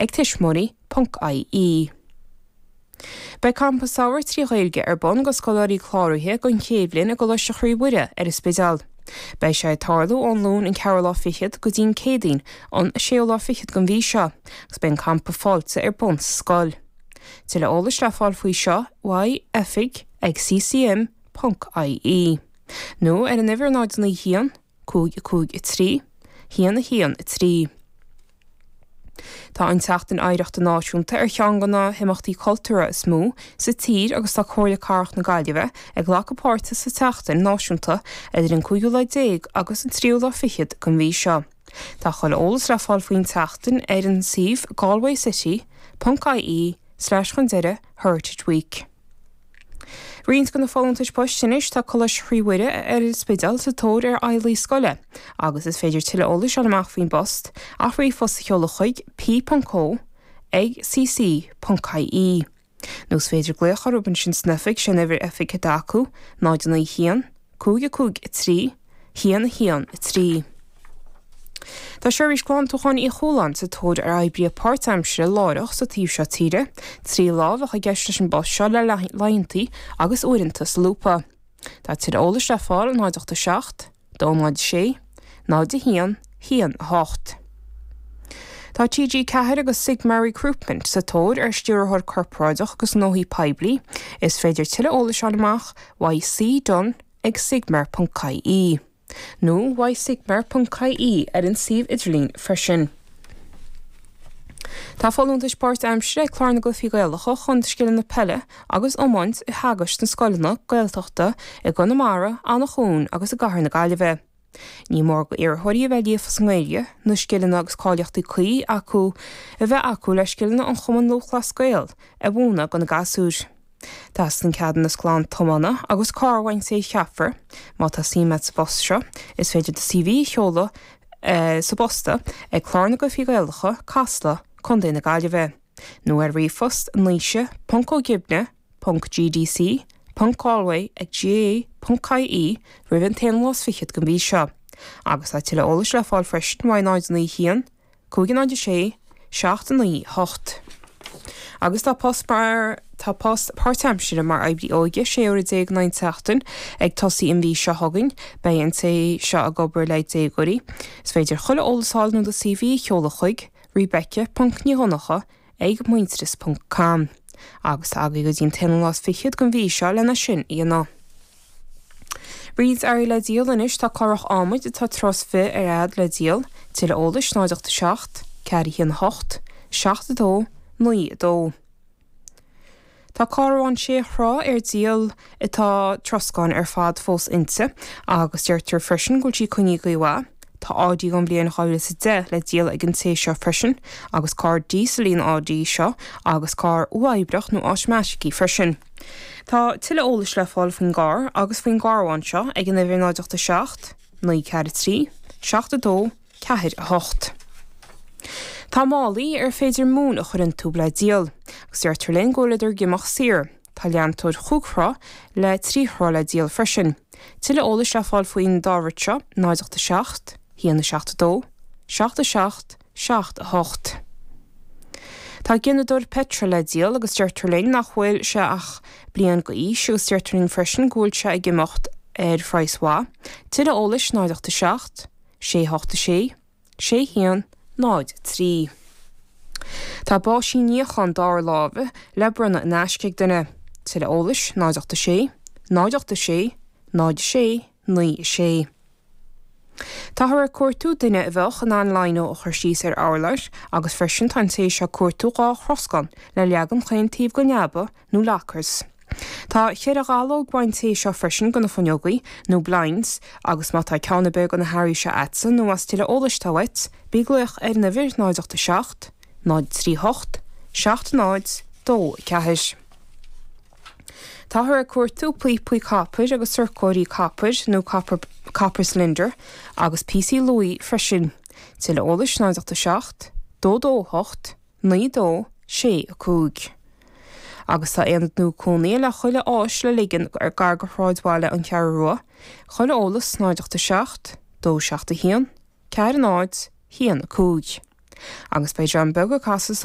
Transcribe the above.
ag tuismitheoirí ponc ie. Beidh Campa Samhraidh 3 Ghaeilge ar bun go scoláirí cláraithe don chéad bhliain i gColáiste Chroí Mhuire ar an Spidéal. Beidh sé ag tarlú ón Luan an ceathrú lá fichead go dtí an Céadaoin an séú lá fichead den mhí seo agus beidh an campa fáilte ar bun sa scoil. Tuilleadh eolais le fáil faoi seo uaidh oifig ag ccm ponc ie nó ar an uimhir 0 9 1 5 5 3 1 1 3. Tá an tSeachtain Oidhreachta Náisiúnta ar cheann de na himeachtaí cultúrtha is mó sa tír agus tá Comhairle Cathrach na Gaillimhe ag glacadh páirte sa tseachtain náisiúnta idir an cúigiú lá déag agus an tríú lá fichead den mhí seo. Tá chuile eolas le fáil faoin tseachtain ar an suíomh galwaycity ponc ie slash chun deireadh heritage week. Roinnt de na folúntais poist anois, tá Coláiste Chroí Mhuire ar an Spidéal sa tóir ar fheighlí scoile agus is féidir tuilleadh eolais a fháil amach faoin bpost ach ríomhphost a sheoladh chuig p.o ag cc ponc ie. Nó is féidir glaoch orthu ansin san oifig, sé an uimhir oifige atá acu, 0 9 1 5 5 3 1 1 3. Tá Seirbhís Glantúcháin Uí Chualáin sa tóir ar oibrithe páirtaimsire láithreach sa taobh seo tíre. 3 lá a bheadh i gceist leis an bpost seo le laethanta agus uaireanta solúbtha. Tá tuilleadh eolais le fáil 0 8 7 2 0 6 0 1 1 8. Tá TG4 agus Sigmar Recruitment sa tóir ar Stiúrthóir Corparáideach agus Gnóthaí Poiblí. Is féidir tuilleadh eolais a fháil amach uaidh C Dunne ag sigmar.ie. Nó uaidh sigmar.ie ar an suíomh idirlín freisin. Tá folúntais páirt-aimsire ag Clár na gCluichí Gaelacha chun scileanna peile agus iomáint a theagasc sna scoileanna Gaeltachta i gConamara, Eanach Dhúin agus i gCathair na Gaillimhe. Ní mór go iarrthóirí a bheith líofa sa nGaeilge, na scileanna agus cáilíochtaí cuí acu a bheith acu le scileanna an Chumann Lúthchleas Gael a mhúineadh go na gasúir. Teastaíonn ceadúnas glan tiomána agus carr ón té a cheapfar. Má tá suim agat sa bpost seo, is féidir do CV a sheoladh sa bpost ag Clár na gCluichí Gaelacha, Casla, Co. na Gaillimhe, nó ar ríomhphost naoise ponc ó gibne ponc gdc ponc galway ag gaa ponc ie roimh an t-aonú lá is fichead den mhí seo. Agus tá tuilleadh eolais le fáil freisin uaidh 0 9 1 5 0 6 7 9 8. Agus tá post mar tá post páirtaimsire mar oibrí óige 16 uaire in aghaidh na seachtaine ag tosaí an mhí seo chugainn. Beidh an té seo ag obair le déagóirí. Is féidir chuile eolas a fháil nó do CV a sheoladh chuig Rebecca ponc Ní Dhonncha ag muintearas ponc com. Agus tá agaibh go dtí an t-aonú lá is fichead den mhí seo lena sin a dhéanamh. Roinnt earraí le díol anois, tá clárach adhmaid atá troigh is fiche ar fhad le díol, tuilleadh eolais 0 8 7 4 1 8 7 2 9 2. Tá carbhán sé throigh ar díol atá troscán ar fad fós inti agus deirtear freisin go bhfuil sí coinnithe go mhaith. Tá Audi ón bhliain 2010 le díol ag an té seo freisin agus carr díosail í an Audi seo agus carr uathoibríoch nó automatic í freisin. Tá tuilleadh eolais le fáil faoin gcarr agus faoin gcarbhán seo ag an uimhir 0 8 7 9 4 3 7 2 4 8. Tá málaí ar féidir móin a chur iontu le díol agus deirtear linn go bhfuileadar ag imeacht saor. Tá leantóir chúig throigh le trí throigh le díol freisin. Tuilleadh eolais le fáil faoin dá rud seo, 0 8 7 1 7 2 7 7 7 8. Tá gineadóir peitril le díol agus deirtear linn nach bhfuil sé ach bliain d'aois agus deirtear linn freisin go bhfuil sé ag imeacht ar phraghas mhaith. Tuilleadh eolais 0 8 7 6 8 6 6 1 0 3. Tá báisín níocháin dara láimhe le bronnadh in aisce ag duine. Tuilleadh eolais 0 8 6 0 8 6 0 6 9 6. Táthar ag cuartú duine a bheadh in ann lino a chur síos ar urlár agus freisin tá an té seo ag cuartú 2 throscán le leagan chaon taobh den leaba nó lockers. Tá cheithre dhallóg uaidh an té seo freisin do na fuinneogaí, nó blinds, agus má tá ceann ar bith de na hearraí seo a'dsa nó más tuilleadh eolais atá uait, bí ag glaoch ar an uimhir 0 8 7 0 3 8 7 0 2 4. Táthar ag cuartú píopaí copair agus sorcóirí copair nó copper, copper cylinder agus píosaí luaí freisin. Tuilleadh eolais 0 8 7 2 2 8 9 2 6 5. Agus tá aonad nua cónaithe le chuile áis le ligean ar gar go shráidbhaile An Cheathrú Rua, chuile eolas 0 8 7 2 7 1 4 0 1 5. Agus beidh dream beag ag casadh sa.